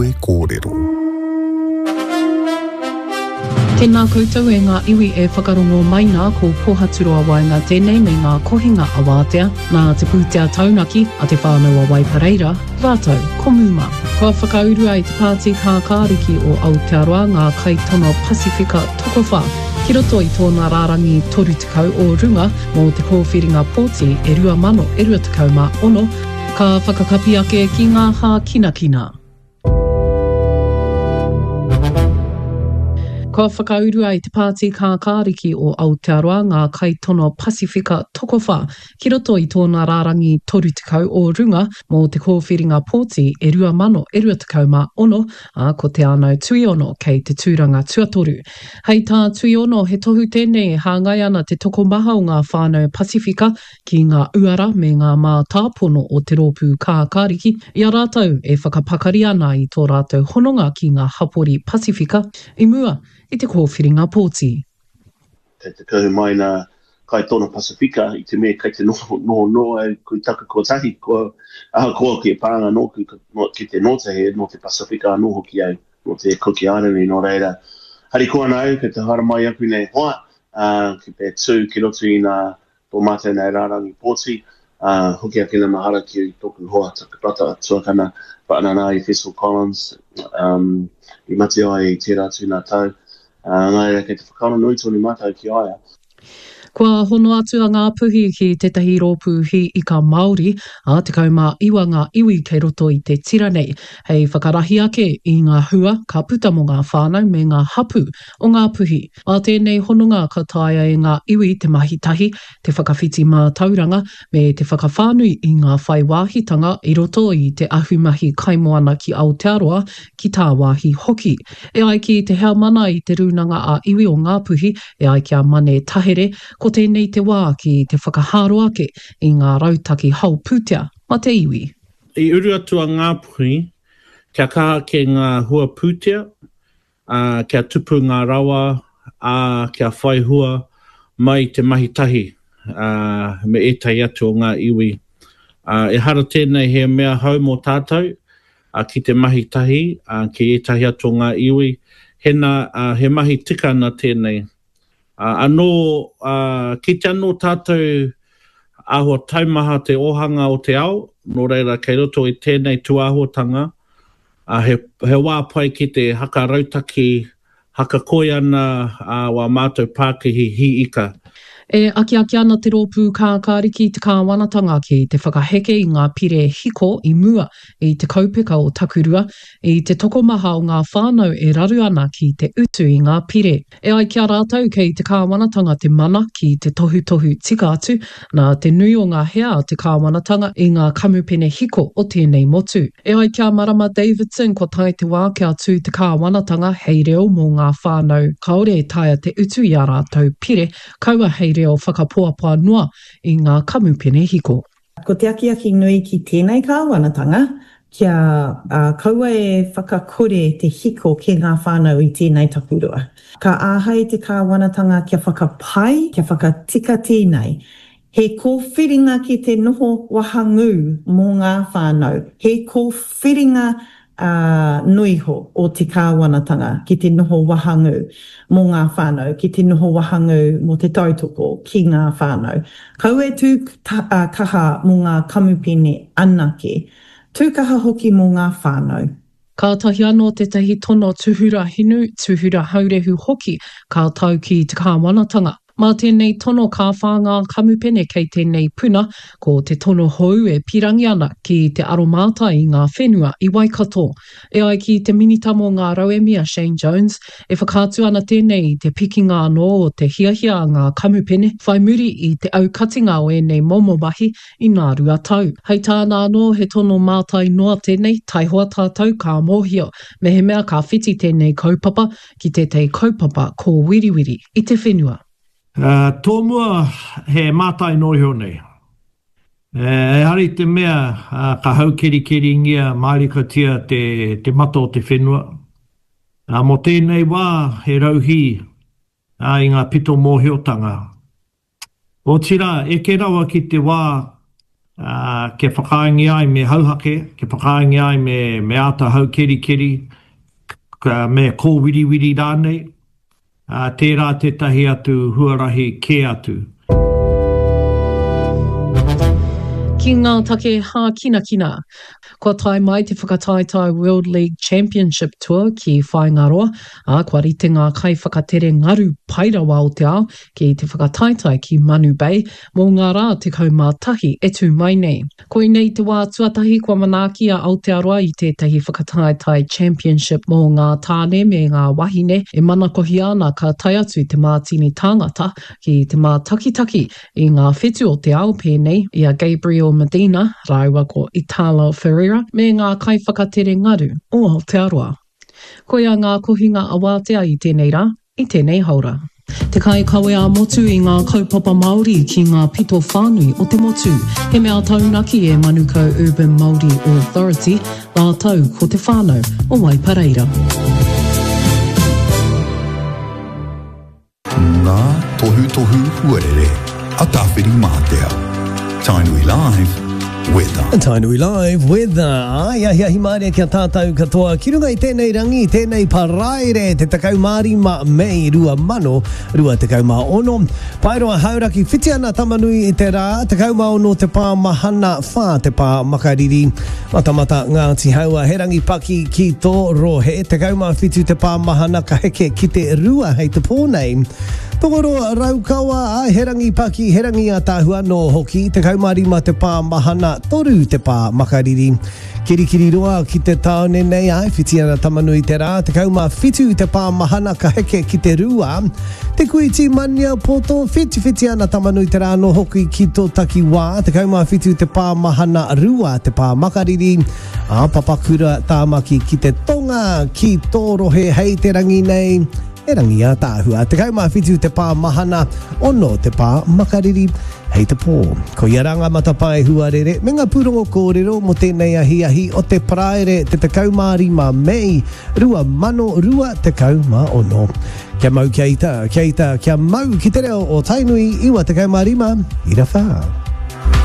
Kawe Kōrero. Tēnā koutou e ngā iwi e whakarongo mai nā ko Pohaturoa Waenga tēnei me ngā kohinga awātea nā te pūtea taunaki a Te Whānau a Waipareira rātou ko Muma. Kua whakaurua e te Pāti Kākāriki o Aotearoa ngā kaitono Pasifika tokowhā ki roto i tōna rārangi 30 o runga mō te kōwhiringa pōti e 2026, ka whakakapi ake ki ngā hākinakina. Kua whakaurua e te Pāti Kākāriki o Aotearoa ngā kaitono Pasifika tokowhā ki roto i tōna rārangi 30 o runga mō te kōwhiringa pōti e 2026, ā, ko Te Ānau Tuiono kei te tūranga tuatoru. Hei tā Tuiono, he tohu tēnei e hāngai ana te tokomaha o ngā whānau Pasifika ki ngā uara me ngā mātāpono o te rōpū kākāriki, i a rātou e whakapakari ana i tō rātou hononga ki ngā hapori Pasifika i mua i te kōwhiringa pōti. Kei te kuhu mai nā kaitono Pasifika i te mea kei te noho noho noa au kui taku kotahi, kua, ahakoa ki e pānga nōku ki te nōta he nō te Pasifika anō hoki au, nō te Kuki Airani, nō reira, harikoa ana au kei te haere mai aku nei hoa, ā, ki te tū ki roto i nā tō mātou nei rārangi pōti, ā, hoki ake na mahara ki tōku hoa, taku brata tuakana, Whaanana i Fessel Collins, um, i mate ai i tērā atu nā tau. Ā, nā reira, kei te whakaaro nui tonu mātou ki a ia. Kua hono atu a Ngāpuhi ki tētahi rōpū hī ika Māori, ā, 19 ngā iwi kei roto i te tira nei, hei whakarahi ake i ngā hua ka puta mō ngā whānau me ngā hapū o Ngāpuhi. Mā tēnei hononga ka taea e ngā iwi te mahi tahi, te whakawhiti mātauranga, me te whakawhānui i ngā whai wāhitanga i roto i te ahumahi kaimoana ki Aotearoa, ki tāwāhi hoki. E ai ki te heamana i te Rūnanga ā-Iwi o Ngāpuhi, e ai ki a Mane Tahere, ko tēnei te wā ki te whakahaaro ake i ngā rautaki hao pūtea ma te iwi. I uru atu a Ngāpuhi kia kaha ake ngā hua pūtea, ā, kia tupu ngā rawa, ā, kia whai hua mai i te mahi tahi me ētahi atu o ngā iwi. Ā, ehara tēnei he mea hou mō tātou, ā, ki te mahi tahi ki ētahi atu o ngā iwi, hena, ā, he mahi tika ana tēnei. Ā, anō, ā, kite anō tātou āhua taumaha te ōhanga o te ao, nō reira kei roto i tēnei tūāhuatanga, ā, he, he wā pai ki te haka rautaki, haka koi ana ā wā mātou pākihi hī ika. E akiaki ana te Rōpū Kākāriki i te kāwanatanga ki te whakaheke i ngā pire hiko i mua i te kaupeka o Takurua, i te tokomaha o ngā whānau e raru ana ki te utu i ngā pire. E ai ki a rātou kei te kāwanatanga te mana ki te tohutohu tika atu, nā te nui o ngā hea a te kāwanatanga i ngā kamupene hiko o tēnei motu. E ai ki a Marama Davidson kua tae te wā kia tū te kāwanatanga hei reo mō ngā whānau kāore e taea te utu i ā rātou pire, kaua hei reo whakapoapoa noa i ngā kamupene hiko. Ko te akiaki nui ki tēnei kāwanatanga, kia kaua e whakakore te hiko ki ngā whānau i tēnei takurua. Ka āhei te kāwanatanga kia whakapai, kia whakatika tēnei. He kōwhiringa ki te noho wahangū mō ngā whānau, he kōwhiringa ā, noiho o te kāwanatanga ki te noho wahangū mō ngā whānau, ki te noho wahangū mō te tautoko ki ngā whānau. Kaua e tū kaha mō ngā kamupene anake, tū kaha hoki mō ngā whānau. Kātahi anō tētahi tono tūhura hinu, tūhura haurehu hoki ka tau ki te kāwanatanga. Mā tēnei tono ka whā ngā kamupene kei tēnei puna, ko te tono hou e pīrangi ana ki te aromātai i ngā whenua i Waikato. E ai ki te Minita mō ngā Rauemi a Shane Jones, e whakaatu ana tēnei i te pikinga anō o te hiahia a ngā kamupene whai muri i te aukatinga o ēnei momo mahi i nā 2 tau. Hei tāna anō, he tono mātai noa tēnei, taihoa tātou ka mōhio mehemea ka whiti tēnei kaupapa ki tētahi kaupapa kōwiriwiri i te whenua. Tōmua he mātai noa iho nei. Ehara i te mea ka haukerikeringia mārikatia te mata o te whenua. Mō tēnei wā he rauhī i ngā pito mōhiotanga. Otirā, eke rawa ki te wā Ā, kia whakaaengia ai me hauhake, kia whakaaengia ai me, me āta haukerikeri, me kōwiriwiri rānei, ā, tērā tētahi atu huarahi kē atu. Ki ngā take hākinakina. Kua tae mai te whakataetae World League Championship Tour ki Whāingaroa, ā, kua rite ngā kaiwhakatere ngaru pai rawa o te ao ki te whakataetae ki Manu Bay mō ngā rā 11 e tū mai nei. Koinei te wā tuatahi kua manaaki a Aotearoa i tētahi whakataetae championship mō ngā tāne me ngā wahine e manakohia ana ka tae atu te mātini tāngata ki te mātakitaki i ngā whetu o te ao pēnei i a Gabriel Medina rāua ko Italo Ferreira me ngā kaiwhakatere ngaru o Aotearoa. Koia ngā kohinga awātea i tēnei rā, i tēnei haora. Te kaikawe ā-motu i ngā kaupapa Māori ki ngā pito whānui o te motu. He mea taunaki e Manukau Urban Māori Authority rātou ko te whānau o Waipareira. Ngā tohutohu huarere a Tāwhirimātea. Tainui Live, Weather. Tainui Live, Weather. Ai, ahiahi mārie ki a tātou katoa. Ki runga i tēnei rangi, tēnei paraire, te 15 Mei 2026. Paeroa Hauraki, whiti ana Tamanui i te rā, 16 te pā mahana, 4 te pā makariri. Matamata Ngāti Haua, he rangi paki ki tō rohe, 17 te pā mahana ka heke ki te rua hei te pō nei. Tokoroa Raukawa, āe, he rangi paki, he rangi ātaahua anō hoki, 15 te pā mahana, 3 te pā makariri. Kirikiriroa ki te tāone nei, āe, whiti ana Tamanui te rā, 17 te pā mahana ka heke ki te rua. Te Kuiti Maniapoto, whitiwhiti ana Tamanui te rā anō hoki ki tō takiwā, 17 te pā mahana, rua te pā makariri, ā, Papakura Tāmaki ki te tonga, ki tō rohe hei te rangi nei, he rangi ātaahua, 17 te pā mahana, ono te pā makariri hei te pō. Koia rā ngā matapae huarere me ngā pūrongo kōrero mō tēnei ahiahi o te Paraire te 15 Mei 2026. Kia mau kia ita, kia ita, kia mau ki te reo o Tainui 95 ira wha.